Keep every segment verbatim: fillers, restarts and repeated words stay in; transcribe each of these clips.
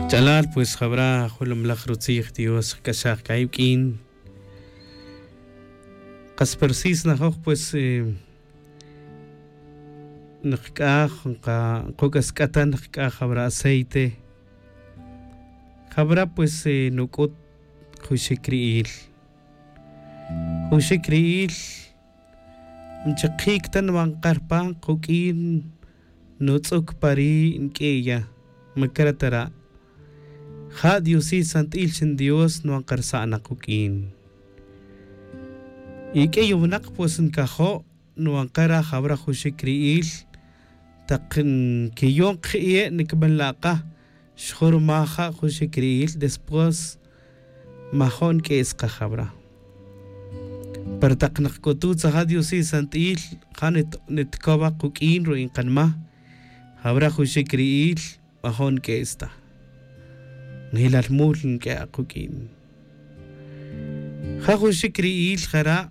Ch'alal pues jawra' jolomlaj rutzij dios jk'axaj k'a iwk'in. Qas persis najoj pues nqk'aj nqa nquk'a sk'atan nqk'aj jawra' aceite. Jawra' pues nuk'ut juxik ri'il. Juxik ri'il nchiqik ta nwan qarpa quk'in nutz'uk pa ri' nk'e'ya. Makara' tara' ja' diosil sant'il xin dios nwan qarsa' naq quk'in. Y k'ey winaq pues nkajo' nwan qara' jawra' juxik ri'il. Taq nkiyon qje' nikmanla' qa xjurmaj ja' juxik ri'il después majo' nk'es qa jawra'. Pero taq nqk'utu' tzaja' diosil sant'il ja' nitkowa quk'in ru'in qanma jawra' juxik ri'il majo' nk'es ta. Njilal mul nk'e' aquk'in ja' juxik ri'il jara'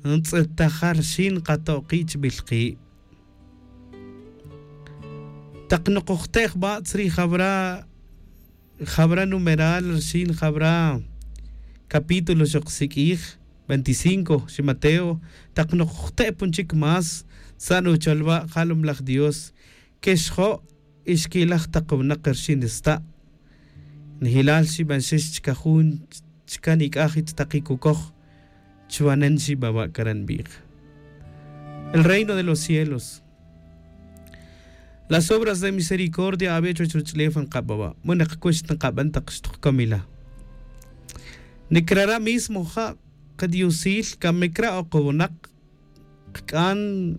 ntz'etaja rxin nqato'qi' chb'il qi'. Taq noqojte' jb'a' tzri jawra' jawra' numeral rxin jawra' capítulo xoqsik'ij veinticinco xi mateo. Taq noqojte' pun chik más tza'n ucholwa' jalumlaj dios kexjo' y xki'laj taq winaq rxin sta'. Nijilal xib'anxix chka jun chka nik'aj ich taqi kukoj chwanen xib'awa' kara' nb'ij. El reino de los cielos. Las obras de misericordia awe' chuwech ruch'ulef nqab'awa' mu niqkux nqab'an taq xtuqkom ila. Nikrara' mismo ja' qdiosil kamikra' oqowinaq qk'an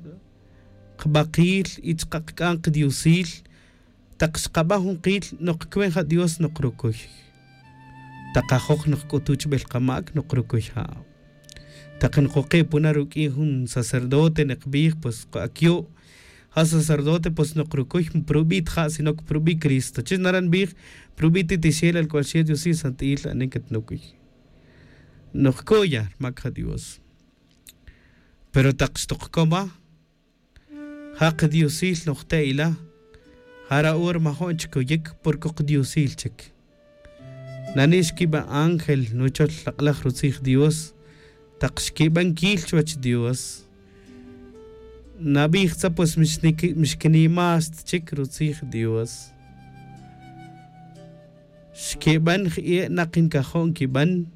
qb'aqil y chqa' qk'an qdiosil. Taq xqab'an jun qil noqkwen ja' dios noqrukuy. Taq ajoj noqk'utu' chb'el qamak noqrukuy ja'. Taq noqoqe' puna ruk'in jun sacerdote niqb'ij pues akyo' ja' sacerdote pues noqrukuy prub'i' ta ja' sino que prub'i' cristo chi naran nb'ij prub'i' titixel al k'ual xel diosil sant'il anen katnukuy. Noqkoya rmak ja' dios. Pero taq xtoqkoma ja' qdiosil nojte' ila. Jara' hora majo'n chik oyik porque qdiosil chik. Nani' xkib'an ángel nuchol laq'laj rutzij dios. Taq xkib'an kil chuwech dios nab'ij tza pues mixkinimas ta chik rutzij dios. Xkib'an jie' naq nkajo' nkib'an.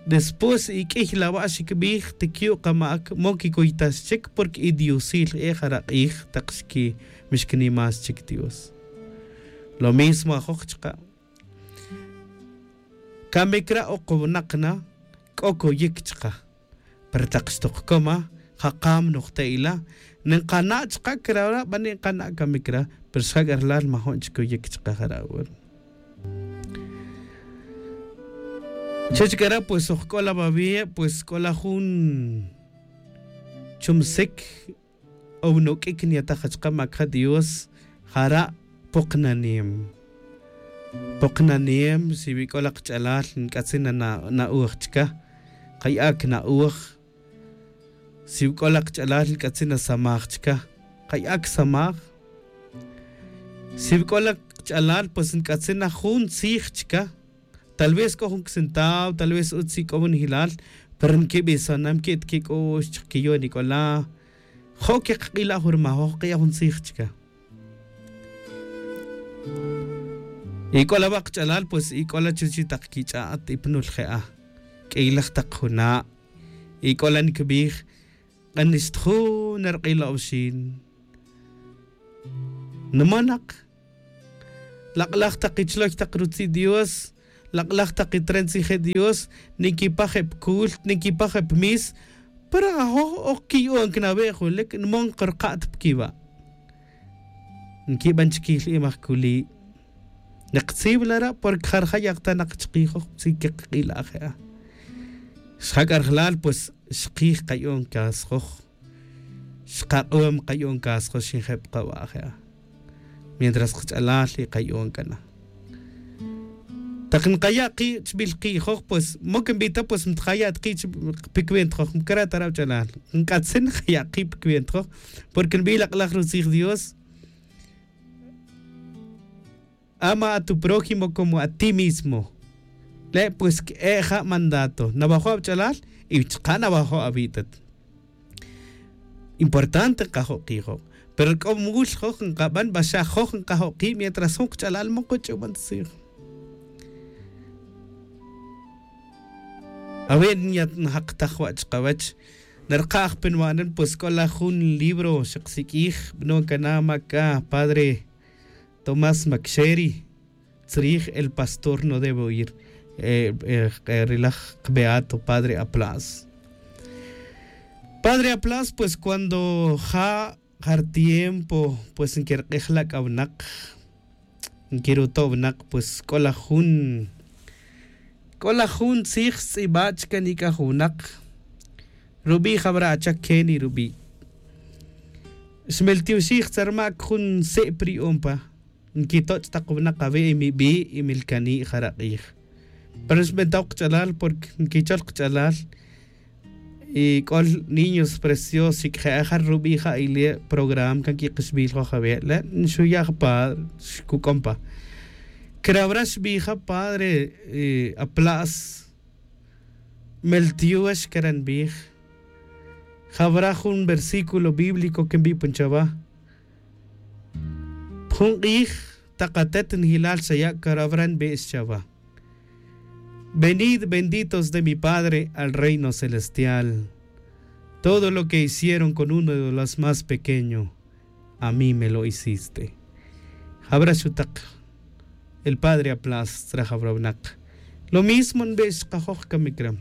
Después y k'iy lawa' xikb'ij tikyu' qama'ak mo kikuytax chik porque idiosil jie' jara' q'ij taq xki mixkinimas chik dios. Lo mismo ajoj chqa' kamikra' oqowinaq na k'o koyik chqa'. Pero taq xtoqkoma jaqam nojte' ila ninqana' chqa' krawra' b'ani' nqana' kamikra'. Pero xjak'a rlal majo'n chik koyik chqa' jara' hora. Chech k'ara' pues oj k'ola' wawi' pues k'ola' jun chumsik o winok'ik nyataj achka' makja' dios. Jara' poqnanem. Poqnanem si wi k'ola' qch'alal nk'atzin nana'oj chka'. Qay'a' kna'oj. Si wi k'ola' qch'alal nk'atzin nasamaj chka'. Qay'a' ksamaj. Si wi k'ola' qch'alal pues nk'atzin na jun tzij chka'. Tal vez k'o jun kcentav tal vez utz ik'o winjilal. Pero nkib'isonam ki' ta kik'u'x chaq kiyo'n ik'ola'. Jo' keqq'ila' jun rmajoj q'iya' jun tzij chka'. Ik'ola' wa' qch'alal pues ik'ola' chuchi' taq kich'a'at ipanul je'a. K'iylaj taq juna'. Ik'ola' nkib'ij q'anix ta jun narq'ilo'ob xin. Nmanaq. Laq'laj taq ichloy taq rutzi' dios. Laq'laj taq itren tzije' dios. Ninkipaj eb' kult ninkipaj eb' mis. Pero ajoj oj kiyu'on kinawe' julik nmon qurqa't pkiwa'. Nkib'an chkij li' imaj kuli'. Niqtziw lara' porque jarja' yaqtanaq chkijoj tzij keqq'ila' je'a. Xjak'a rjlal pues xkij qayu'on kasjoj. Xqaq'om qayu'on kasjoj xinjeb' qawa' je'a. Mientras qch'alal y qayu'on k'ana. Taq nqaya' qi' chb'il qi'joj pues mok nb'ita pues mtqaya' ta qi' pikwen tjoj mkara' ta ra' wach'alal. Nk'atzin nqaya' qi' pikwen tjoj. Porque nb'ij laq'laj rutzij dios. ama a tu prójimo como a ti mismo. Le' pues c'e' ja' mandato nawajo' awach'alal y chka' nawajo' awi'tat. Importante nkajo' kijo', pero c'o mul joj nkaban baxa joj nkajo' ki' mientras jun kach'alal man kuch'uban tzij. Awi' nyat njaktaj wa' chkawech. Narkaj pe nwa'nan pues c'o la jun libro xaksik'ij bno cana ma' c'a padre tomás macxeri. Tzrij el pastor no debe oir. Rilaj beato padre aplas. Padre aplas pues cuando ja' jar tiempo pues nquirk'ij la' c'a winak. Nquiruto' winak pues c'o la jun c'o la jun tzij stz'iba' chica nic'a jun winak. Rubi' jawra' achak keni rubi'. Xmeltioxij tzarmac jun se'p ri'on pa. Nquitoch' tak winak awi' imibi' imilcani' jara' k'ij. Pero xbenta ok kach'alal porque nquichol kach'alal. Y c'ol niños preciosos xic'je' ajar rubi' ja' ile' programa can quik'ixbil joj awi' le' nxuya' jpadre xcuc'on pa. Crawra xbij ja padre apla's. Meltiox cara' nbij. Jawra jun versículo bíblico que nbi'pon chawa. Jun k'ij tak atet njilal xaya' carawra nbe'ex chawa. Venid benditos de mi padre al reino celestial. Todo lo que hicieron con uno de los más pequeño, a mí me lo hiciste. Jawra xutak el padre aplas tzra jawra winak. Lo mismo nbe'ex chkajoj camic ra.